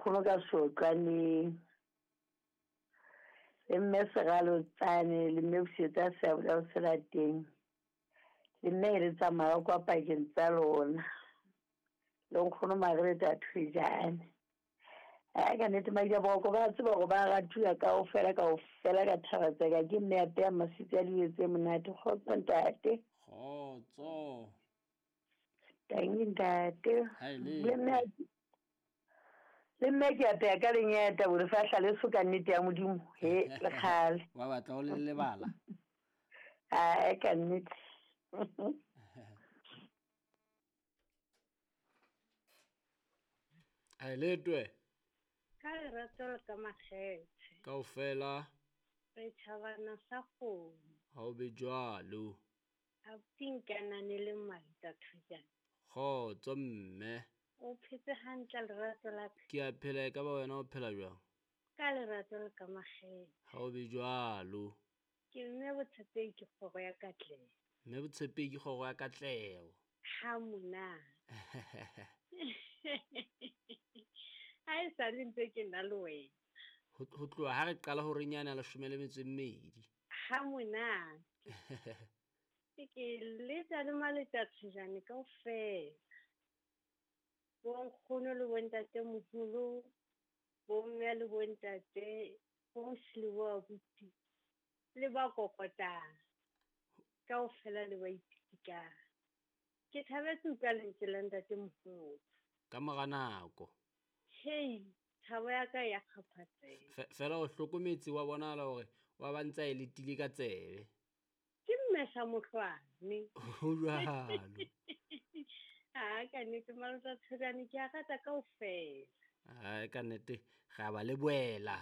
Nkgono ka Sotlwaneng. Le mme Seralotsane le mme Busetsa Seabola o Selateng. Le mme e le tsamaya kwa pakeng tsa lona. Le nkgono Margaret Thwejane. Ai ka nnete Madiaboroko ba tseba hore ba ratuwa kaofela kaofela ka thaba tseka ke mme ya peya maswitsi a dijo tse monate. Kgotso ntate. Kgotso. Tanki ntate. Ha e le. Le mme le mme ke apeya ka lenyata bo lefahla leso ka nnete ya Modimo. He le kgale. Wa batla o le lebala. Ai ka nnete. Ha e letwe. Ka lerato le ka makgethe. Kaofela. Re tjhabana sa kgomo. Ha o be jwalo. Abuti nkanane le Malta Thojane. Kgotso mme. O phetse hantle lerato la ka. Ke a phela e ka ba wena o phela jwang? Ka lerato le ka makgethe. Ha o be jwalo. Ke mme Botshepehi ke kgoro ya Katleho. Mme Botshepehi ke kgoro ya Katleho. Ha monate. Ha e sa le ntse ke na le wena. Ho tloha ha re qala ho renyana 12. Ha monate. Ke letsa le Maleta Thojane kaofela. Bonkgono le bontatemoholo, bomme le bontate, boausi le boabuti, le ba kokotang kaofela le ba ipitikang. Ke thabetse utlwa lentswe la ntatemoholo. Ka mora nako. Hei, thabo ya ka ya kgaphatseha. Fela o hlokometse wa bonahala hore wa ba ntsa e letile ka tsebe. Ke mme sa mohlwane. Ho jwalo. Ha ka nnete Malota Thojane ke a rata kaofela. Ai ka nnete re a ba lebohela.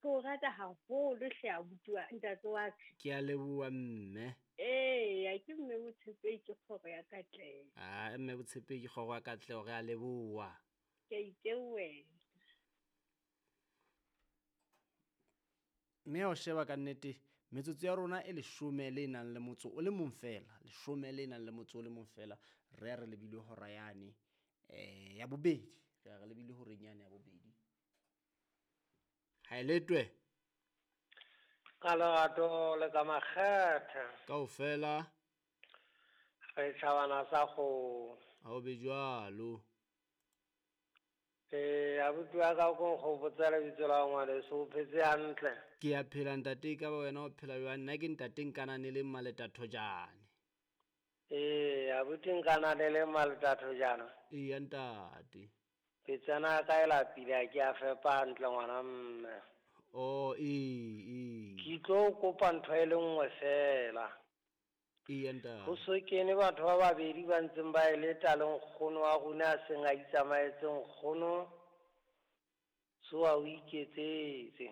Ke o rata haholo hle abuti wa ntate wa ka. Ke a leboha mme. Eya ke mme Botshepehi ke kgoro ya Katleho. Ah mme Botshepehi ke kgoro ya Katleho re a leboha. Ke a itebohela. Mme o sheba ka nnete metsotso ya rona e 10 le nang le motso o le mong fela, 10 le nang le motso o le mong fela, re ya re lebile hora yane ya bobedi, re ya re lebile horeng yane ya bobedi. Ha e letwe. Ka lerato le ka makgethe. Kaofela. Re tjhabana sa kgomo. Ha o be jwalo. Abuti wa ka ko nkgopotsa lebitso la ngwaneso, o phetse hantle? Ke a phela ntate, e ka ba wena o phela jwang? Nna ke ntate Nkanane le Maleta Thojane. Abuti Nkanane le Maleta Thojane. Eya ntate. Petsana ya ka e lapile, ha ke a fepa hantle ngwana mme. Oh, ee. Ke tlo kopa ntho e le nngwe fela. Eya ntate. Ho so kene batho ba babedi ba ntseng ba e leta le nkgono wa rona a seng a itsamaetse nkgono tsoa o iketsetse.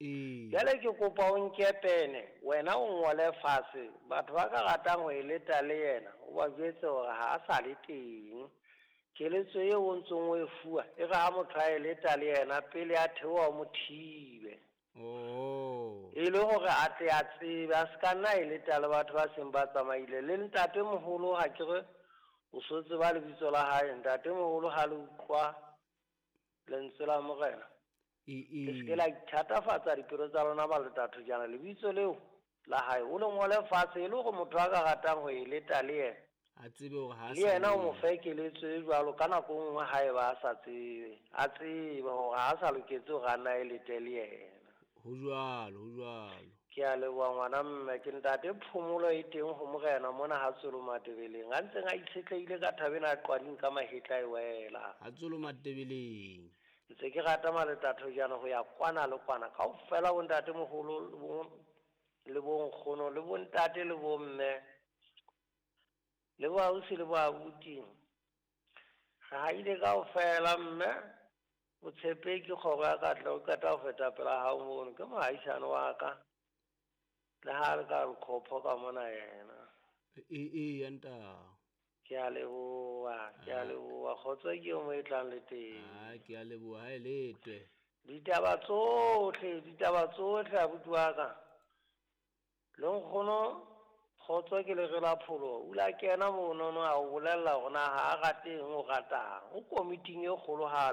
Ee. Jwale ke kopa o nke pene, wena o ngole fatshe, batho ba ka ratang ho e leta le yena, o ba jwetse hore ha a sa le teng. Keletso eo o ntsong o e fuwa, e re ha motho a e leta le yena pele a theoha o mo thibe. Oh. E le hore a tle a tsebe, a se ka nna e leta le batho ba seng ba tsamaile. Le ntatemoholo ha ke re o so tseba lebitso la hae, ntatemoholo ha le utlwa lentswe la Morena. Le se ke la ithatafatsa dipelo tsa lona Maleta Thojane, lebitso leo la hae o le ngole fatshe e le hore motho a ka ratang ho e leta le yena. A tsebe hore ha Le yena o mo fe keletso e jwalo ka nako e nngwe ha eba a sa tsebe, a tsebe hore ha a sa loketse hore a nna e lete le yena. Ho jwalo, ho jwalo. Ke a leboha ngwana mme, ke ntate phomolo e teng ho Morena mona ha Tsolo Matebeleng. A ntseng a itshetlehile ka thabeng a qwading ka mahetla e wela. Ha Tsolo Matebeleng. Ntse ke rata Maleta Thojane ho ya kwana le kwana. Kaofela bo ntatemoholo le bo nkgono le bo ntate le bo mme le bo ausi le bo abuti. Re haile kaofela mme. Botshepehi ke kgoro ya Katleho, o qeta ho feta pela hao mono, ke mohaisane wa ka. Le ha re ka nkhopho ka mona yena. Ee nta. Ke a leboha, ke a leboha. Kgotso ke eo mo e tlang le teng. Ah, ke a leboha, ha e letwe. Ditaba tsohle, abuti wa ka. Le nkgono Kgotso ke lere la pholoho. O ile a kena monono a o bolella hore na ha a rate eng o ratang. O komiting e kgolohali.